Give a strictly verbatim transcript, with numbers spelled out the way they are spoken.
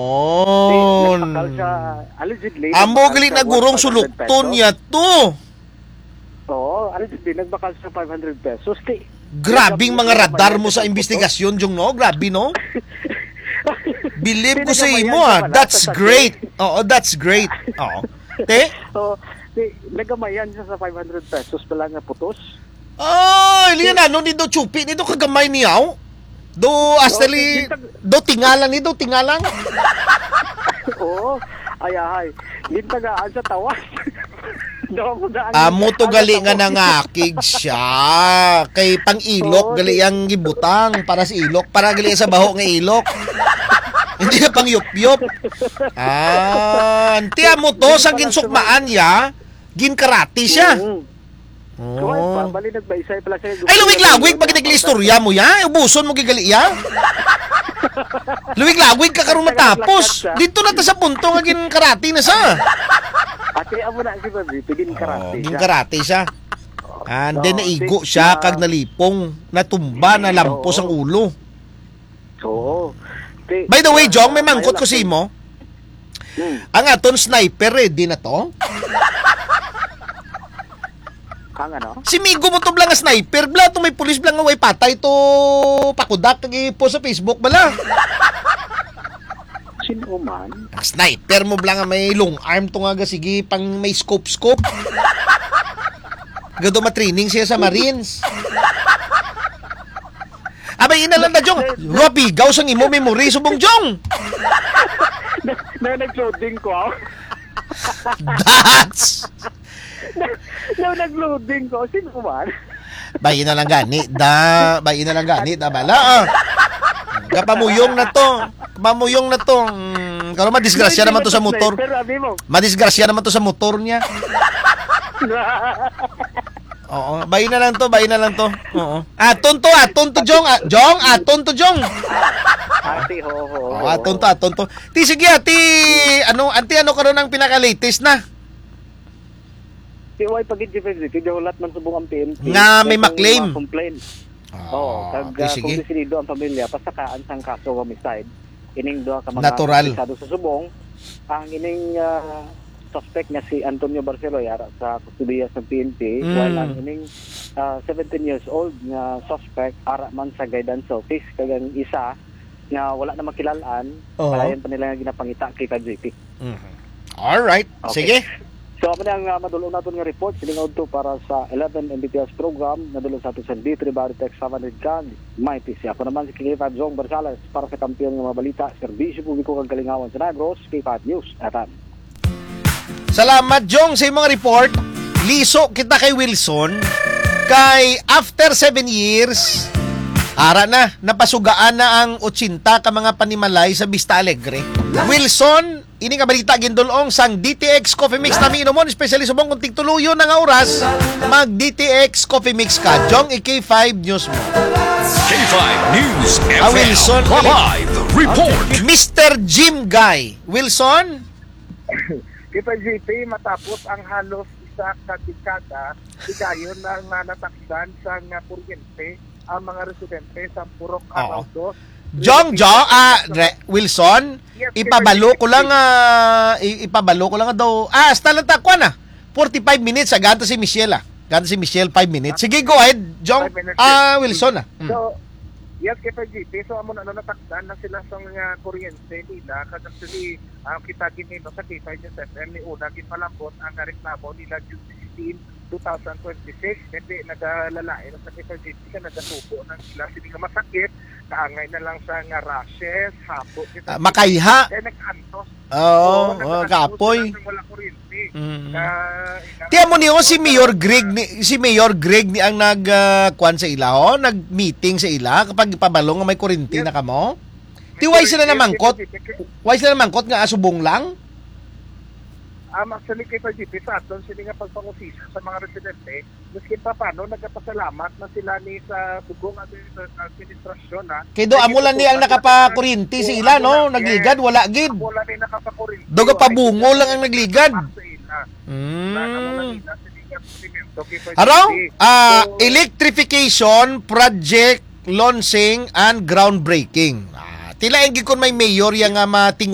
Oh. Nagbakal siya, allegedly, Amo nagbakal gali siya na gurong worth five hundred sulukton pesos. Niya to. Oo, allegedly, nagbakal siya five hundred pesos. Ti, Grabing nagkamali mga siya, radar mo mayroon sa sa photo. Investigasyon, Jong, no? Grabe, no? Believe ko sa imo, ah. Pinagamayan siya pala That's sa great. Sasakyan. Oo, that's great. Oo. Te? Oo, ti, nagamayan siya sa five hundred pesos pala nga putos. Ay, liyan, ano ni do chupi ni do kagamay niyaw? Do, hasta Oh, li, gintag- do tingalan ni do tingalan. Oo. Ay, ay. Gintagaan sa tawas. Daw mo daan. Amo to Ano gali sa nga tawas? Nangakig siya. Kay pang-ilok Oo, gali di- ang gibutang para sa ilok, para gali sa baho nga ilok. Hindi na pang-yupyop. Ah, anti amo to sa Hindi pala ginsukmaan niya, ginkarati siya. Mm. Oo. Kuwan pa, bali nagbaysay pala siya. Ay, luwig-lawig, pag nag-istorya mo, ya? Ubuson mo gigali, ya? Luwig-lawig ka karon matapos. Dito na ta sa punto nga ginkarati na sa. Ate, amo na si Babi, ginkarati Oo, siya. Ginkarati siya. And then, Oo, naigo si-, siya, ah, kag nalipong, natumba, Mm, nalampos ang oo. Ulo. Oo. Ti-, By the way, Jong, may ah, mangkot ko sa imo. Hmm. Ang aton sniper, ready na to? Ang ano? Si Migo mo to bala nga sniper, bala to may pulis bala nga way patay to pakudak kag i-post sa Facebook bala. Sino man? Ang sniper mo bala nga may long arm to nga ga-, sige pang may scope-scope. Gado ma-training siya sa Marines. Abay, ina lang na, Jong. Robigaw sang imo memory, subong, Jong. Na, na, nag-loading ko. That's Na, na, nag-loading ko. Sino man? Bayi na lang gani, da. Bayi na lang gani, da, bala, ah. Kapamuyong na to. Kapamuyong na to. Mm, karon madisgrasya Hindi naman to sa naman motor. Sniper, abi mo. Madisgrasya naman to sa motor niya. Oo, bayi na lang to, bayi na lang to. Oo. Aton to, aton to, Jong. Ah, Jong, aton to, Jong. Ate, ho, ho, Oo, ho, aton ho. To, aton to. Ti, sige, ati, ano, anti, ano karon ang pinaka-latest na? Ti way pa gid, Jeffrey, ti gahulat man subong ang P N P. Nga may Kay kung ma-claim. Ma-complain. Ah, Oo, kag, okay, ah, kung sige. Desidido ang pamilya, pasakaan sang kaso nga homicide, ining duha ka mga Natural. Suspetsado sa subong, ang ining, ah, suspect nga si Antonio Barcelo ay ara sa kustodiya sa P N P, Mm. while ang ining, ah, seventeen years old nga suspect ara man sa guidance office, kag ang isa nga wala na makilal-an, Oo. Padayon pa nila nga ginapangita kay K five G P. Mhm. Alright. Okay. Sige. So, amo na ang, ah, madul-on naton nga report sining udto para sa eleven M B P S program. Nadul-on sa aton sa D three Baritex seven hundred kag Mighty C. Ako naman si K five Jong Barzales para sa Kampiyon nga mga Balita, Serbisyo Publiko kag Kalingawan sa Negros, K five News F M. Salamat, Jong, sa imong report. Liso kita kay Wilson. Kay after seven years, ara na, napasugaan na ang ochenta ka mga panimalay sa Vista Alegre. Wilson, ini nga balita gindul-ong sang D T X Coffee Mix na miinomon, especially subong kung tigtuluyo na nga oras, mag D T X Coffee Mix ka. Jong, i K five News mo. K five News Ah, F M Wilson, live report. Mister Jim Guy. Wilson? Kita, J P, matapos ang halos isa ka dekada, higayon na nga natakdan sa nga kuryente ang mga residente sa Purok Oo. Araw dos. Jong, Jong, ah, Re-, Wilson, Yes, ipabalo K five G P. Ko lang, ah, i-, ipabalo ko lang daw. Ah, hasta lang ta, kuwan na. Forty-five minutes, ah, ganto si Michelle, ah. Ganto si Michelle, five minutes. Sige, go ahead, Jong. Five minutes, Ah, yes. Wilson, ah. Mm. So, yes, K five G P. So, amo na, ano, natakdan na sila sa mga kuryente nila. Kag actually, ah, kita gini, no, sa K five News F M, ni una ginpalambot ang reklamo nila June sixteen, two thousand twenty-six. Hindi, nagalalain na sa K five G P, kaya nagasubo na sila. Sini nga masakit, kaangay na lang sa nga rashes, habo, kita Ah, makaiha. Kaya nag-antos. Oo, Oo, oo, nag-antos kapoy. Sila sa wala kuryente. Mm. Na, Ti amo ni, oh, si Mayor Greg ni, si Mayor Greg ni ang nag, ah, kwan sa ila, oh, nag-meeting sa ila kapag ipabalo nga may kuryente Yes. na kamo? Ti, why sila Yes, namangkot? yes, yes, yes. Why sila namangkot nga asubong lang? Um, actually, K five G P, sa aton sini nga pagpangusisa sa mga residente, maski pa paano, nagapasalamat na sila ni sa subong administra-, administrasyon, ha. Kay do, amo lang ni ang nakapakuryente sa ila, no? Nagligad, wala gid. Amo lang ni nakapakuryente, Do, wala gapabungol gid lang ang nagligad. Sa ila. Mm. Wala na mo na nila, sige nga, sige, okay, Haro? sige. Ah, So, electrification project launching and groundbreaking. Ah, tila ang gikon may mayor yang nga mating